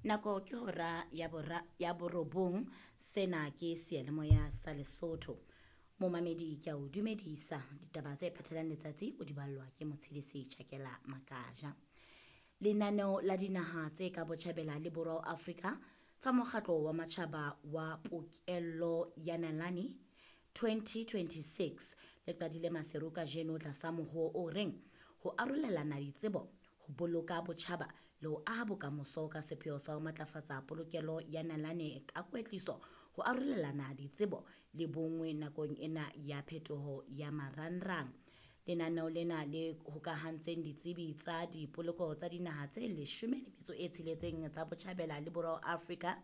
Nako ke hora ya bora ya borobong. Sena ke seyalemoya sa Lesotho. Momamedi ke a o dumedisa. Ditaba tse phathelang letsatsi o di ballwa ke Motshedisi Chakela Makaja. Lenaneo la dinaha tse ka botjhabela le borwa Afrika tsa mokgatlo wa matjhaba wa pokello ya nalane 2026 le qadile Maseru kajeno tlasa mohoo o reng ho arolelana ditsebo, ho boloka botjhaba le ho aha bokamoso ka sepheo sa ho matlafatsa polokelo ya nalane ka kwetliso, ho arolelana ditsebo le bonngwe nakong ena ya phetoho ya marangrang. Lenaneo lena le hokahantseng ditsebi tsa dipoloko tsa dinaha tse 16 tsa botjhabela le borwa Afrika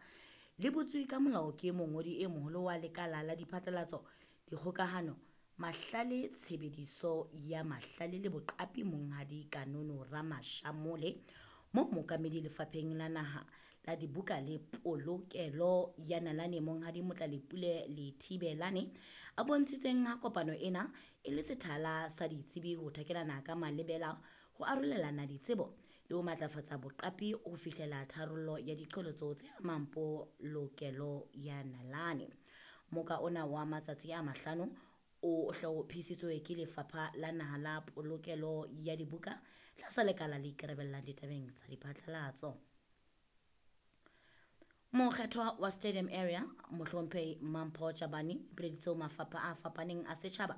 le butswe ka molao ke mongodi e moholo wa lekala la diphatlalatso, dikgokahano, mahlale, tshebediso ya mahlale le boqapi Monghadi Kanono Ramashamole, moo mookamedi lefapheng la naha la dibuka le polokelo ya nalane Monghadi Motlalepule Lethibelane a bontshitseng ha kopano ena e le sethala sa ditsebi ho thakelana ka malebela, ho arolelana ditsebo le ho matlafatsa boqapi ho fihlela tharollo ya diqholotso tse amang polokelo ya nalane. Moka ona wa matsatsi a mahlano o hlophisitswe ke Lefapha la Naha la Polokelo ya Dibuka tlasa lekala le ikarabellang ditabeng tsa diphatlalatso. Mokgethwa wa Stadium Area Mohlomphehi Mampho Tjabane o ipileditse ho mafapha a fapaneng a setjhaba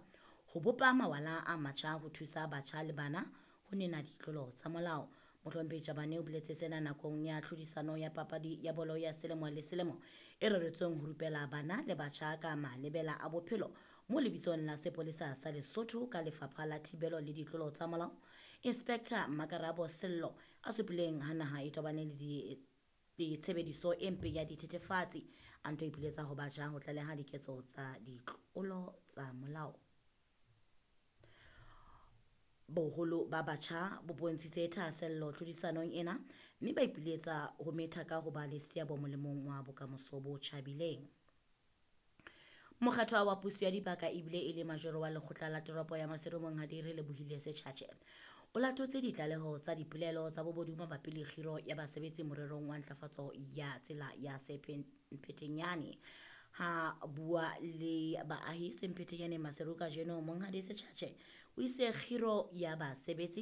ho bopa mawala a matjha ho thusa batjha le bana ho nena ditlolo tsa molao. Mohlomphehi Tjabane o boletse sena nakong ya tlhodisano ya papadi ya bolo ya selemo le selemo e reretsweng ho rupela bana le batjha ka malebela a bophelo mo lebitsong la sepolesa sa Lesotho ka Lefapha la Thibelo le Ditlolo tsa Molao. Inspector Makarabo Sello a supileng ha naha e tobane le tshebediso e mpe ya dithethefatsi, a nto ipiletsa ho batjha ho tlaleha diketso tsa ditlolo tsa molao. Boholo ba batjha bo bontshitse thahasello tlhodisanong ena mme ba ipiletsa ho metha ka ho ba le seabo molemong wa bokamoso bo tjhabileng. Mokgethwa wa puso ya dibaka ebile e le majoro wa lekgotla la toropo ya Maseru Monghadi Relebohile Setjhatjhe o latotse ditlaleho tsa dipolelo tsa bobodu mabapi le kgiro ya basebetsi morerong wa ntlafatso ya tsela ya Semphetenyane. Ha bua le baahi Semphetenyane Maseru kajeno, Monghadi Setjhatjhe o itse kgiro ya basebetsi